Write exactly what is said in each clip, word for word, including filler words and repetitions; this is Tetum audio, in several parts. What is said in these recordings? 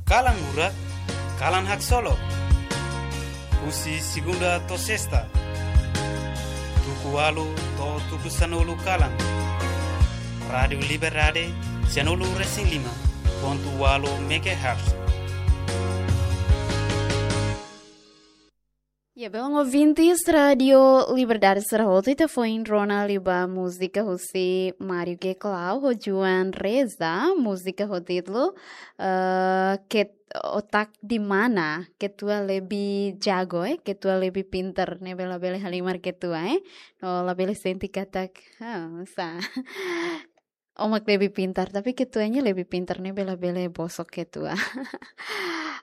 Kalan Murak, Kalan Haksolok. Husi segunda to'o sesta, tuku ualu to'o tuku sanulu kalan. Rádiu Liberdade, sanulu resin lima pontu ualu megahertz. Ya, belun ouvintes Rádiu Liberdade sira hotu, ita foin rona liu ba múzika husi Mário Geclau ho Joan Reza, múzika ho títulu, eh, Ket-, Otak di Mana, Ketua Lebih Jago, eh, Ketua Lebih Pintar, ne'ebé labele halimar Ketua, eh. No labele sente katak, ah, sa. Ó mak lebih pintar, tapi ketuanya lebih pintar ne'ebé labele bosok ketua.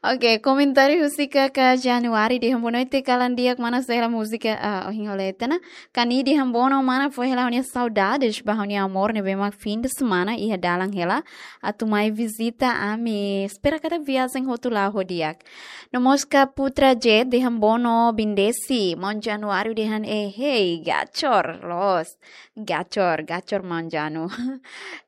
Oke, komentáriu husi Kaka Januari dehan boa noite, kalan di'ak, mana sela múzika, ah, ohin hola ita ona. Kani dehan boa noite, mana fó hela ha'u-nia saudades ba ha'u-nia amor ne'ebé mak fim de semana iha dalan hela atu mai vizita ami. Espera katak viajen hotu la'o ho di'ak. No mós Kaka Putra Jet dehan boa noite, bindesi. Maun Januário dehan, eh, hey, gacor, loos. Gacor, gacor maun Janu.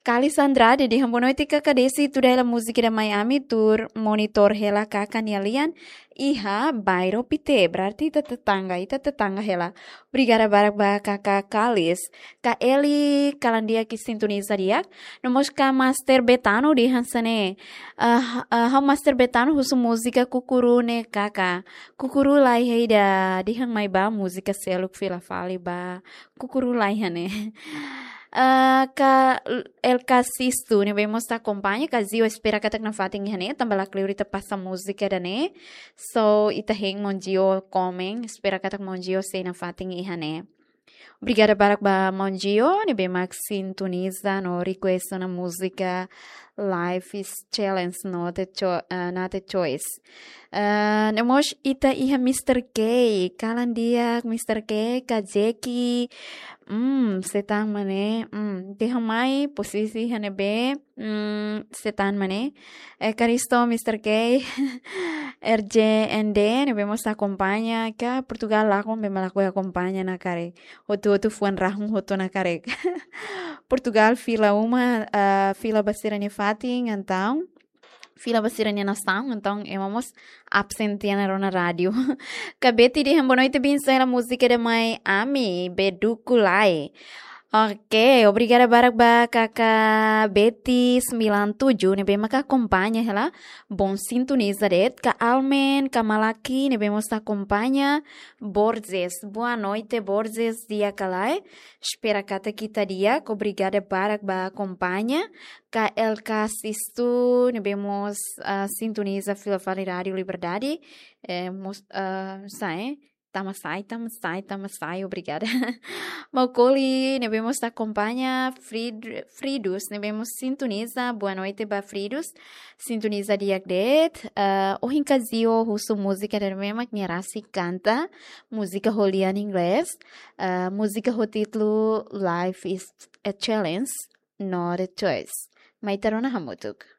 Kalis Andrade dehan boa noite, Kaka Desi, tuda hela múzika ida mai ami, tuur monitor hela Kaka nia lian iha bairru Pité, berarti ita tetangga, ita tetangga hela. Obrigada barak ba Kaka Kalis. Kak Eli, kalan di'ak, sintoniza di'ak. No mós Kak Master Betano dehan hanesan ne'e. Ah, ah, ha'u Master Betano husu múzika Kukuru ne'e Kaka. Kukuru laiha ida, dehan mai ba múzika seluk fila fali ba Kukuru laiha ne'e. Eh, Kak L K Sisto ne'ebé mós ita akompaña, Kak Zio, espera katak nafatin iha ne'e, tanba lakleur ita pasa múzika ida-ne'e. So, ita hein maun Zio komen, espera katak maun Zio sei nafatin iha ne'e. Obrigada barak ba maun Zio ne'ebé mak sintoniza no request ona múzika Life is Challenge no te cho-, eh, na te choice. Eh, no mós ita iha Mister K, kalan di'ak Mister K, Kak Jeki, hmm, sei tan mak ne'e, hmm, dehan mai, posisi iha ne'ebé, hmm, sei tan mak ne'e. Eh, Karisto, Mister K, R J N D ne'ebé mós ita akompaña, ka Portugal lakon be mak lakohi akompaña ona karik. Hotu-hotu fuan rahun hotu ona karik. Portugal fila uma, ah, fila ba sira-nia fatin, entaun fila ba sira-nia nasaun, entaun ema mós absen tiha ona rona rádiu. Kak Betty dehan boa noite, bin sela múzika ida mai ami, Beduku Lai. Oke, obrigada barak ba Kaka Betty sembilan tujuh ne'ebé maka akompaña hela. Bom sintoniza de'it, Kak Almen, Kak Malaki ne'ebé mós ita akompaña. Borges, boa noite Borges, di'ak ka lae? Espera katak ita di'ak, obrigada barak ba akompaña. Kak L K Sisto ne'ebé mós, ah, sintoniza fila fali Rádiu Liberdade. Eh, mós, ah, sai, tama sai, tama sai, tama sai, obrigada. Maukoli ne'ebé mós ita akompaña, Frid-, Fridus ne'ebé mós sintoniza, boa noite ba Fridus. Sintoniza di'ak de'it, eh, ohin Kak Zio husu múzika ida ne'ebé mak nia rasik kanta, múzika ho lian inglés, eh, múzika ho títulu Life is a Challenge, not a Choice. Mai ita rona hamutuk.